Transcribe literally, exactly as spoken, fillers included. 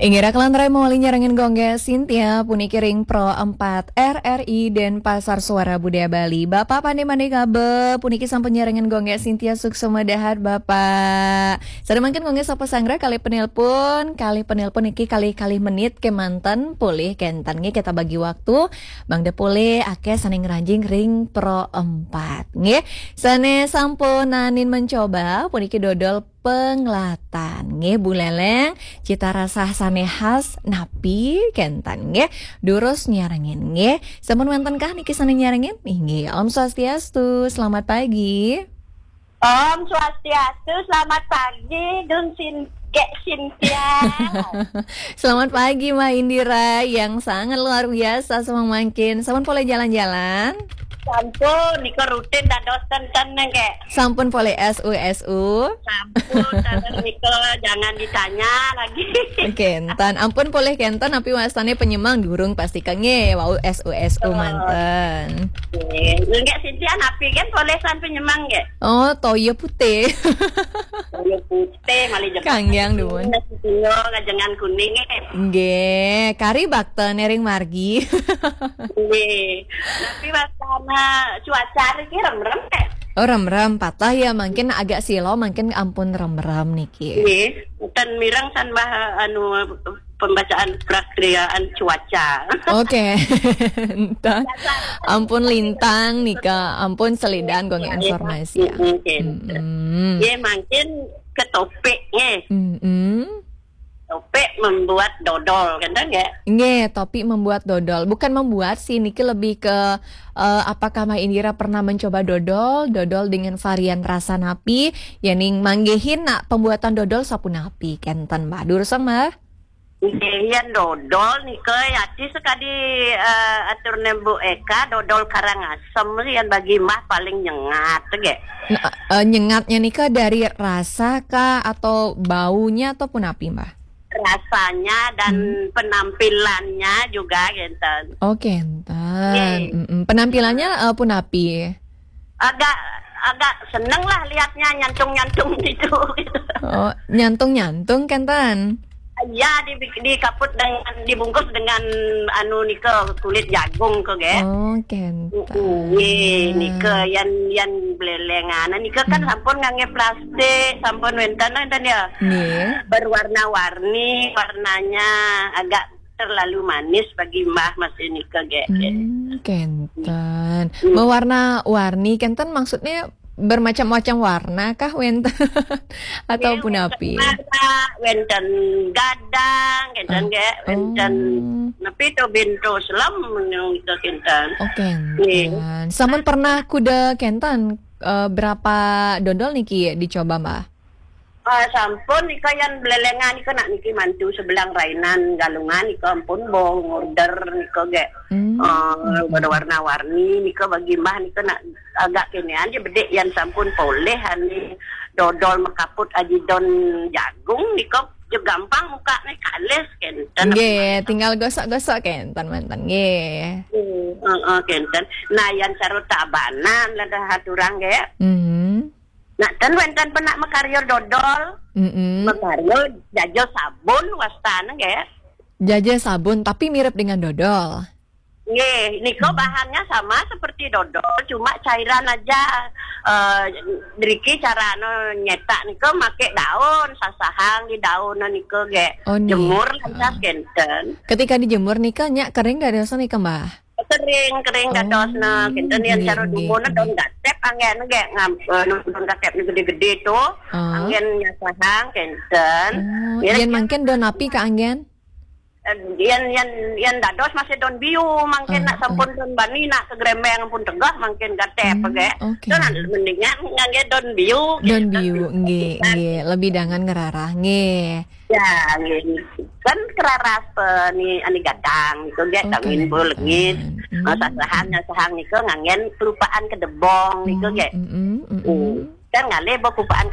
Inggih raka lan rai mawali nyarengin Gung Gek Sintia, puniki ring Pro empat R R I Denpasar Suara Budaya Bali. Bapak pandé-pandé kabeh, puniki sampun nyarengin Gung Gek Sintia, suksma dahat Bapak. Sané mangkin Gung Gek sapa sanggra kalih penelpon, kalih penelpon niki kalih-kalih menit kémanten, polih kénten nggih kita bagi waktu, mangda polih akéh sané ngranjing ring Pro empat nggih. Sané sampun naenin mencoba, puniki dodol penglatan. Nggih, Bu Leleng, cita rasa sané khas napi kénten nggih. Durus nyarengin nggih. Sampun wénten kah niki sané nyarengin? Inggih, Om Swastiastu, selamat pagi. Om Swastiastu, selamat pagi, Gung Sin-, Gek Sintia. Selamat pagi, Mbak Indira, yang sangat luar biasa semangkin. Sampun polih jalan-jalan? Sampun, nika rutin dados ten-ten nggih. Sampun polih S U S U? Sampun, ten nika jangan ditanya lagi. Kénten, ampun polih kénten, napi wastané penyemang durung pasti ka nggih, wau S U S U manten. Nggih, nggih Sintia napi kan polih san penyemang nggih? Oh, toya putih. Toya putih, malih jeng. Kanggiang dumun. Nasi kuning, ngajengan kuning nggih. Nggih, kari bakta nering margi. Nggih. Tapi wastana cuaca niki remrem nggih? Oh, remrem, patah ya, mungkin agak silo, mungkin ampun remrem niki. Nggih, ten mireng san bah anu pembacaan prakiraan cuaca. Oké. Entah. Ampun lintang nika, ampun selidan Gung Gek informasi ya. Oké. Nggih, mungkin ke topik nggih. Topik membuat dodol, kan nggih? Nggih, topik membuat dodol. Bukan membuat sih, niki lebih ke, eh, apakah Mbak Indira pernah mencoba dodol, dodol dengan varian rasa napi, yéning manggihin nak pembuatan dodol sapunapi, kénten Mbah. Durusang Mbah. Nggih, yén dodol nika yati sekadi, eh, aturné Bu Eka, dodol Karangasem yén bagi Mbah paling nyengat nggih. Nah, eh, nyengatnya nika dari rasa kah atau baunya atau punapi, Mbah? Rasanya dan penampilannya juga kénten. Oh, kénten. Nggih. Mm-mm. Penampilannya, eh, punapi? Agak, agak seneng lah lihatnya nyantung-nyantung gitu. Oh, nyantung-nyantung kénten? Ya, di, dikaput dengan, dibungkus dengan anu nika kulit jagung ke, nggih. Oh, kénten. Nggih, nika yén, yén blelengan nika kan sampun nganggé plastik, sampun wénten, wénten ya. Nggih. Berwarna-warni, warnanya agak terlalu manis bagi Mbah masih nika nggih. Hmm, kénten. Mewarna-warni kénten maksudnya bermacam-macam warna kah wénten? Atau punapi? Warna, wénten gadang, kénten nggih, wénten napi to bento selem nika kénten. Oh, kénten. Sampun pernah kuda kénten, eh, berapa dodol niki dicoba, Mbah? Eh, sampun nika yén blelengan nika nak niki mantu sebelang rainan Galungan nika ampun bo ngorder nika nggih. Eh, warna-warni nika bagi Mbah nika nak agak kénéan ja bedik yén sampun polih ani dodol makaput aji daun jagung nika ja gampang mukakné kalis kénten. Nggih, tinggal gosok-gosok kénten manten nggih. Hmm, heeh, kénten. Nah, yén cara Tabanan lah dah aturang nggih. Hmm. Nah, ten wénten pernah makarya dodol. Mm-mm. Makarya jaja sabun wastana nggih. Jaja sabun tapi mirip dengan dodol. Nggih, nika bahannya sama seperti dodol, cuma cairan aja. Eh, driki carane nyetak nika make daun, sasahang di daun nika nggih. Oh, nggih. Jemur lantas kénten. Ketika dijemur nika nyak kering dados nika, Mbah? Kering, kering dadosna. Oh, kénten yén nggih, cara nggih, dumun nggih. Daun gatép anggén nggih ngam-, eh, daun gatép gedé-gedé to. Ah. Anggén nyasahang kénten. Oh, yén mangkin daun napi kaanggén? Eh, yén, yén, yén dados masih daun biu, mangkin nak sampun daun bani nak ke grembeng pun tegah mangkin gatép nggih. Oké. Daun mendingan nganggé daun biu. Daun biu, nggih, nggih. Lebih dangan ngerarah, nggih. Ya, nggih. Kan keraras pe ni ani gadang niku nggih, kangin bulengit. Sasahang, sasahang niku nganggén kelupaan kedebong niku nggih. Kan ngalih bo kelupaan